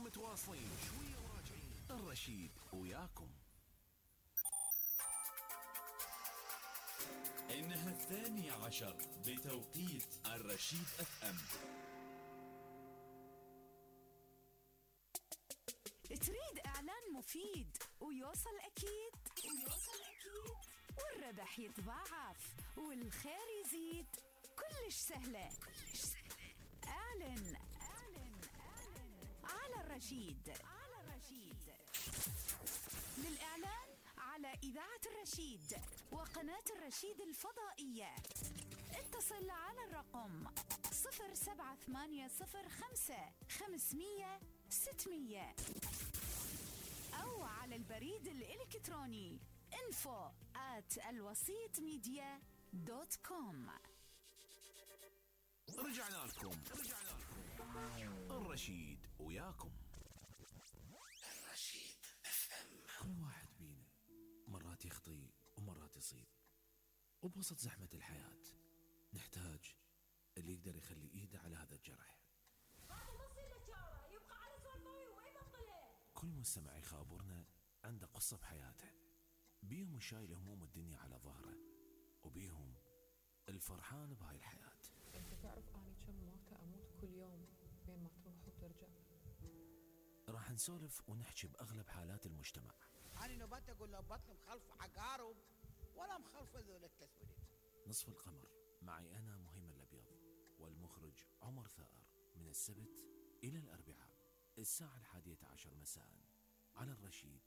متواصلين شوية وراجعين. الرشيد وياكم. إنها 12 بتوقيت الرشيد FM. تريد إعلان مفيد ويوصل أكيد والربح يتضاعف والخير يزيد. كلش سهلة. اعلن على الرشيد. للإعلان على إذاعة الرشيد وقناة الرشيد الفضائية اتصل على الرقم 07805 أو على البريد الإلكتروني info@alwasitmedia.com. رجعنا لكم. الرشيد وياكم. الرشيد FM. كل واحد بينا مرات يخطي ومرات يصيب، وبوسط زحمة الحياة نحتاج اللي يقدر يخلي ايده على هذا الجرح. كل مستمع يخابرنا عنده قصة بحياته، بيهم شايل هموم الدنيا على ظهره، وبيهم الفرحان بهاي الحياة. انت تعرف اني كم مرة اموت كل يوم بين ما تروح وترجع. راح نسولف ونحكي بأغلب حالات المجتمع. أنا نبات أقول له بطل مخلف عقارب ولا مخلف ذول التسويد. نصف القمر معي أنا مهيم الأبيض والمخرج عمر ثائر، من السبت إلى الأربعاء الساعة 11 مساء على الرشيد